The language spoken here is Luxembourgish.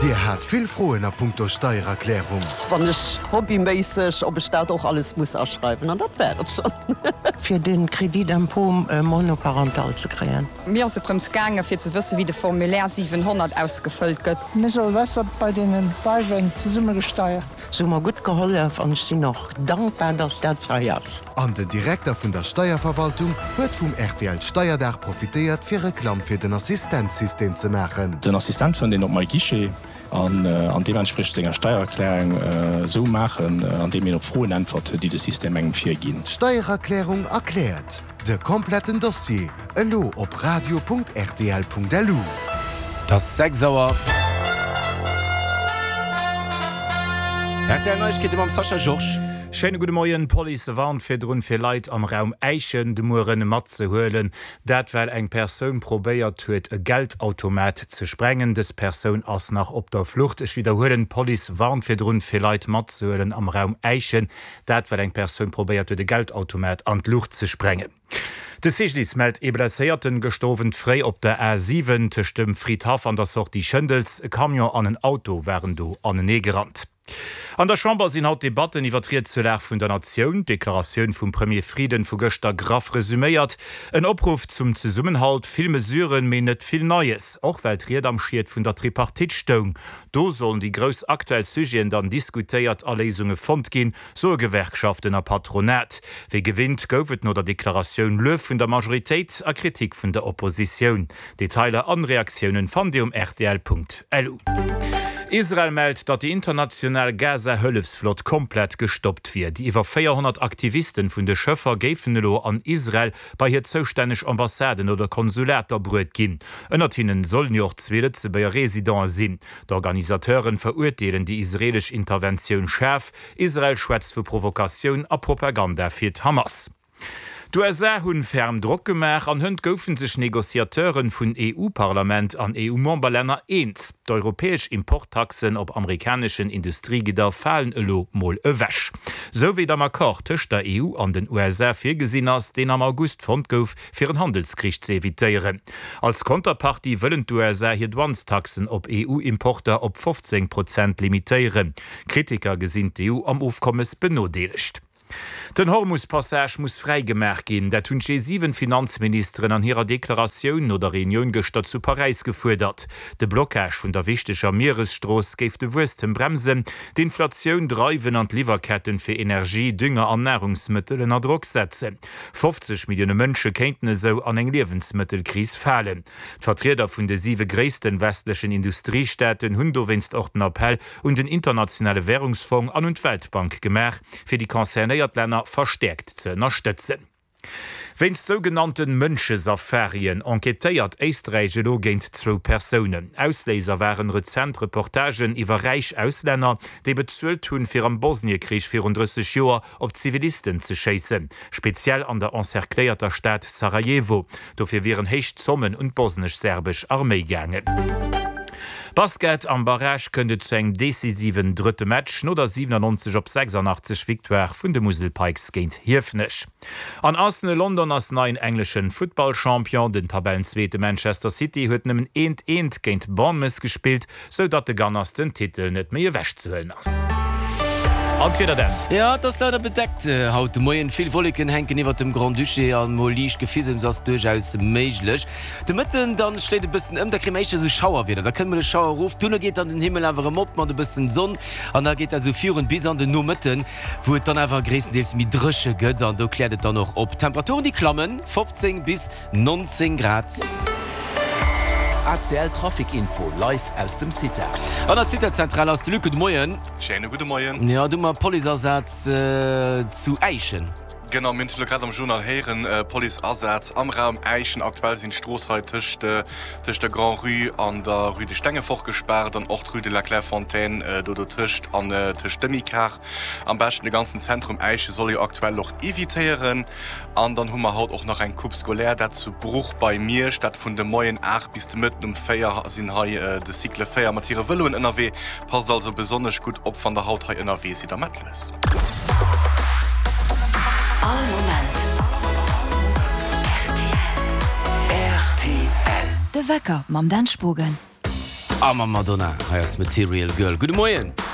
Dir hat vill Froen a punkto Steiererklärung? Wann ech hobbyméisseg, ob ech dat och alles muss aschreiwen, an dat war et schonn. Fir den Crédit d'impôt monoparental ze kréien. Mir ass et drëms gaangen, fir ze wëssen, wéi de Formulaire 700 ausgefëllt gëtt. Mir soll besser bei deenen Beiweng zesumme gesteiert. Se hu mer gutt gehollef an ech sinn och dankbar, dass dat hei ass. An den Direkter vun der Steierverwaltung huet vum rtl Steierdag profitéiert fir Reklamm fir den Assistenzsystem ze maachen. Den Assistent fënnt een op MyGuichet an deementspriechend senger Steiererklärung esou maachen, andeem een op Froen äntwert, déi de System engem virginn. D'Steiererklärung erkläert. De kompletten Dossier elo op radio.rtl.lu. Et ass 6 Auer. Rtl Neiegkeete mam Sascha Georges. Schéine gudde Moien. D'Police warnt virdrun, fir Leit am Raum Äischen de Mueren matzehuelen. Dat well eng Persoun probéiert huet, e Geldautomat ze sprengen. Dës Persoun ass nach op der Flucht. Ech widderhuelen, D'Police warnt virdrun, fir Leit matzehuelen am Raum Äischen. Dat well eng Persoun probéiert huet e Geldautomat an d'Luucht ze sprengen. De CGDIS mellt ee Blesséierten gëschter Owend fréi op der A 7 tëscht dem Fridhaff an der Sortie Schëndels. E Camion an en Auto waren do anenee gerannt. An der Chamber sinn haut d'Debatten iwwer d'Ried zur Lag vun der Natioun. D'Deklaratioun vum Premier Frieden vu gëschter graff resuméiert, En Opruff zum Zesummenhalt, vill Mesuren, mee net vill Neies. Och well d'Ried am Schiet vun der Tripartite stoung. Do sollen déi grouss aktuell Sujeten dann diskutéiert a Léisunge fonnt ginn, soe Gewerkschaften a Patronat. Wéi gewinnt gouf et no der Deklaratioun Luef vun der Majoritéit a Kritik vun der Oppositioun. Detailer an Reaktiounen fannt Dir um rtl.lu. Israel mellt, datt déi international Gaza-Hëllefsflott komplett gestoppt wier. Déi iwwer 400 Aktivisten vun de Schëffer géifen elo an Israel bei hir zoustänneg Ambassaden oder Konsulater bruet ginn. Ënnert hinnen sollen jo och zwee Lëtzebuerger Residenten sinn. D'Organisateuren verurteelen déi israelesch Interventioun schaarf. Israel schwätzt vu Provokatioun a Propaganda fir d'Hamas. D'USA hunn ferm Drock gemaach an hënt goufen sech Negociateuren vun EU-Parlament an EU-Memberlänner eens. D'europäesch Importtaxen op amerikaneschen Industriegidder falen elo mol ewech. Sou wéi et am Accord tëscht der EU an den USA virgesinn ass, deen am August fonnt gouf, fir en Handelskrich ze evitéieren. Als Konterpartie wëllen d'USA hir Douanestaxen op EU-Importer op 15 Prozent limitéieren. Kritiker gesinn d'EU am Ofkommes benodeelegt. Den Hormus-Passage muss fräi gemaach ginn, dat hunn d'G7-Finanzministeren an hirer Deklaratioun no der Reunioun gëschter zu Paräis gefuerdert. De Blockage vun der wichteger Mieresstrooss géif de Wuesstem bremsen, d'Inflatioun dreiwen an d'Liwwerketten fir Energie, Dünger an Narungsmëttel ënner Drock setzen. 50 Millioune Mënsche kéinten esou an eng Liewensmëttelkris falen. D'Vertrieder vun de siwe gréissten westlechen Industriestaaten hunn dowéinst och den Appell un den Internationale Währungsfong an un d'Weltbank gemaach, fir déi concernéiert Länner verstäerkt ze ënnerstëtzen. Wéinst sougenannte Mënschesafarien enquêtéiert Éisträich elo géint zwou Persounen. Ausléiser waren rezent Reportagen iwwer räich Auslänner, déi bezuelt hunn, fir am Bosniekrich virun 30 Joer op Zivilisten ze schéissen, speziell an der encercléierter Stad Sarajevo. Dofir wieren héich Zommen un d'bosnesch-serbesch Arméi gaangen. Basket, Am Barrage kënnt et zu engem decisiven drëtte Match no der 97 op 86 Victoire vun de Musel Pikes géint Hiefenech. An Arsenal London ass neien engleschen Futtballchampion. Den Tabellenzweete Manchester City huet nëmmen eent eent géint Bournemouth gespillt, sou datt de Gunners den Titel net méi ewech ze huelen ass. An d'Wieder dann? Jo, et ass leider bedeckt haut de Moien. Vill Wolleken hänken iwwert dem Grand-Duché an mol liicht Gefisems ass duerchaus méiglech. De Mëtten dann schléit e bëssen ëm, da kréie mer éischter esou Schauerwieder, da kënnt mol e Schauer erof, duerno geet dann den Himmel awer erëm op mat e bëssen Sonn an da geet dat esou virun bis an den Nomëtten, wou et dann awer gréisstendeels méi dréche gëtt an do kläert et dann och op. D'Temperaturen déi klammen, 15 bis 19 Grad. ACL Trafic Info live aus dem CITA. An der CITA-Zentral ass de Luc. Gudde Moien. Schéine gudde Moien. Jo, du mat Policeasaz zu Äischen. Genau, mir hunn et elo grad am Journal héieren, Policeasaz am Raum Äischen. Aktuell sinn d'Strooss hei tëscht tëscht der Grand-Rue an der Rue de Stengefort gespaart an och d'Rue de la Clairefontaine do dotëscht an tëscht Demicar. Am beschten de ganzen Zentrum Äische soll jo aktuell och evitéieren. An dann hu mer haut och nach eng Coupe scolaire, dat zu Bruch bei Miersch, dat vun de Moien 8 bis de Mëtten um 4 sinn hei de Cycle 4 mat hire Vëloen ënnerwee. Passt also besonnesch gutt op wann der haut hei ënnerwee sidd a mat lues. All Moment rtl. De Wecker mam Dan Spogen. A mam Madonna. Hei ass Material Girl. Gudde Moien.